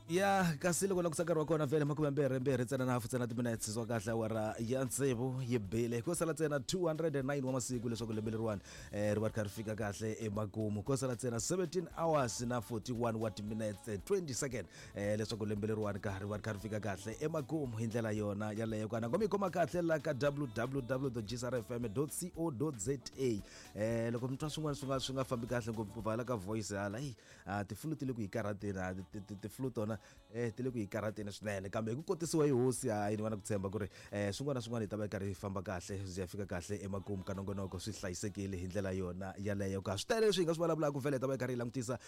Ya kasi loko langutisa nkarhi wa kona vhele 24 ntsena na hafu ntsena timinetse swa kahle awara ya tsevu yi bile ko sala ntsena 209 wa masiku leswaku lembe leriwani ri va ri kha ri fika kahle emakumu. Ko sala ntsena 17 hours na 41 wa timinetse 20 second leswaku lembe leriwani ka ri va ri kha ri fika kahle emakumu hi ndlela yona yaleyo. Kana ngoma yi khoma kahle la ka www gsrfm co za. Loko mi twa swin'wana swi nga fambi kahle ngopfu hala ka voice hala, eyi, a tifulu ti le ku yi karhateni, a tifulu tona ti le ku yi karhateni swinene, kambe hi ku kotisiwa hi hosi, hayi, ni va na ku tshemba ku ri swin'wana na swin'wana hi ta va hi karhi hi famba kahle, byi ya fika kahle emakumu ka nongonoko swi hlayisekile hi ndlela yona yaleyo. Ka swi tele leswi hi nga swi vulavulaka, vhele hi ta va hi karhi hi langutisa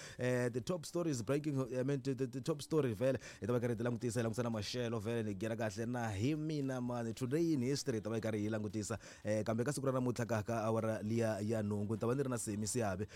the top stories breaking, I mean, the top story vhele hi ta va hi karhi hi ti langutisa, hi langutisa na maxelo vhele ni gera kahle na hi mina mani today in history hi ta va hi karhi hi langutisa. Kambe ka siku ra namuntlha ka awara liya ya 8 ni ta va ni ri na Semi Siabe,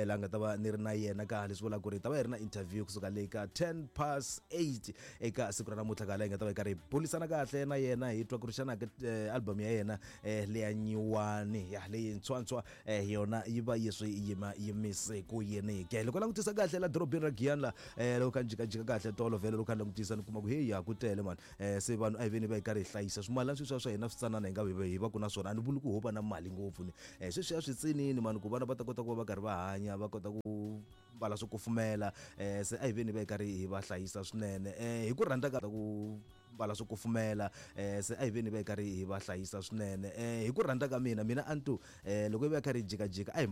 laha nga ta va ni ri na yena ka leswi vulaka ku ri hi ta va hi ri na interview kusuka le ka 10 past 8 eka siku ra namuntlha, ka laha hi nga ta va hi karhi hi bulisana kahle na yena, hi twa ku ri xana ke album ya yena leya nyiwani ya leyintshwantshwa yona yi va yi swi yima yimise ku yini ke. Loko langutisa kahle la dorobeni ra Giyani la, loko kha ni jikajika kahle tolo vhele, loko kha ni langutisa ni kuma ku heyi, ya ku tele mani. Se vanhu a hi veni va hi karhi hi hlayisa swimalana sweswiya swa hina switsanana hi nga hi va ku na swona. A ni vuli ku ho va na mali ngopfu ni sweswiya switsinini mani, ku vana va ta kota ku va va karhi va hanya, va kota ku mbala swo kufumela. Se a hi veni va hi karhi hi va hlayisa swinene hi ku rhandza ka ku mbala swo kufumela. Se a hi veni va hi karhi hi va hlayisa swinene hi ku rhandza ka mina. Mina a ni tu loko hi va hi karhi hi jikajika a hi.